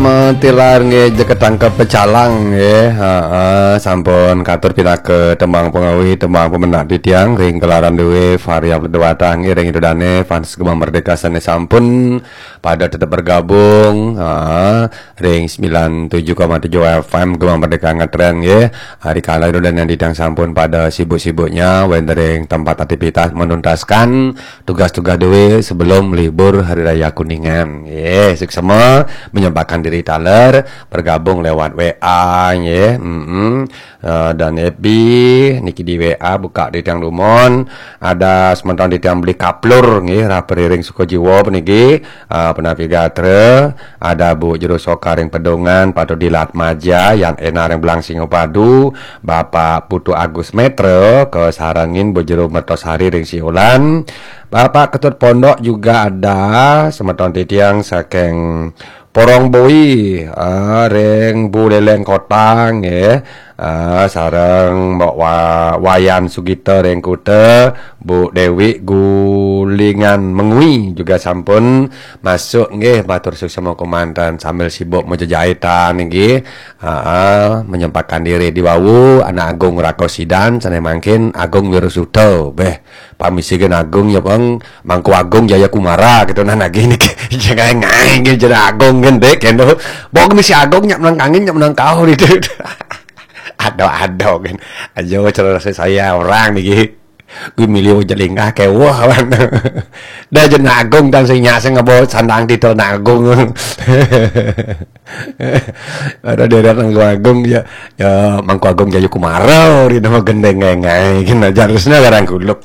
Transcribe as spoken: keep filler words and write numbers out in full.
Matilar nggih, jeket tangkep pecalang nggih. Heeh, sampun katur pinaka tembang pengawi, tembang pemenak titiang ring gelaran duwe variabel dewata nggih, ring ida dane fans Gema Merdeka sane sampun pada tetep bergabung. Heeh, ring sembilan tujuh koma tujuh F M Gema Merdeka ngetren nggih. Ari kala ida dane titiang sampun pada sibuk-sibuknya wenten ring tempat aktivitas menuntaskan tugas-tugas duwe sebelum libur Hari Raya Kuningan. Nggih, suksema menyempatkan diri taler bergabung lewat W A nggih. Mm-mm. Eh, dan F B niki di W A buka titiang dumun, ada semeton titiang beli kaplur nggih, rah periring suka jiwa puniki, eh, penapi gatra, ada Bu Jero Soka ring Pedungan, Patu Dilat Maja, Yan Ena ring Belang Singapadu, Bapak Putu Agus Metra, kesarengin Bu Jero Mertosari ring Siolan, Bapak Ketut Pondok juga ada, semeton titiang saking Porong Boi, ah, ring Buleleng Kota nggih. Ah, sareng Mbok Wa-, Wayan Sugita ring Kuta, Bu Dewi Gulingan Mengwi juga sampun masuk nggih, matur suksema kemanten sambil sibuk majejahitan nggih. Ah, ah, menyempatkan diri di wau Anak Agung Rako Sidan sane mangkin Agung Wirusuta. Beh, pamisi gen Agung ya, Bang. Mangku Agung Jaya Kumara gitu nah nagih niki. Jangan ngai gitu, Jero Agung gendek gitu. Bawa ke misi Agung nyak menang kangin, nyak menang kau gitu. Ado-ado kan. Aja cerita saya orang niki. Gue milih jelingkah kewah kan. Dah, Jero Agung dan sing nyak sing ngebawa sandang titel Agung. Ada daerah Mangku Agung ya. Ya, Mangku Agung Jaya Kumara di nama gendeng ngai-ngai gitu. Harusnya garang guluk.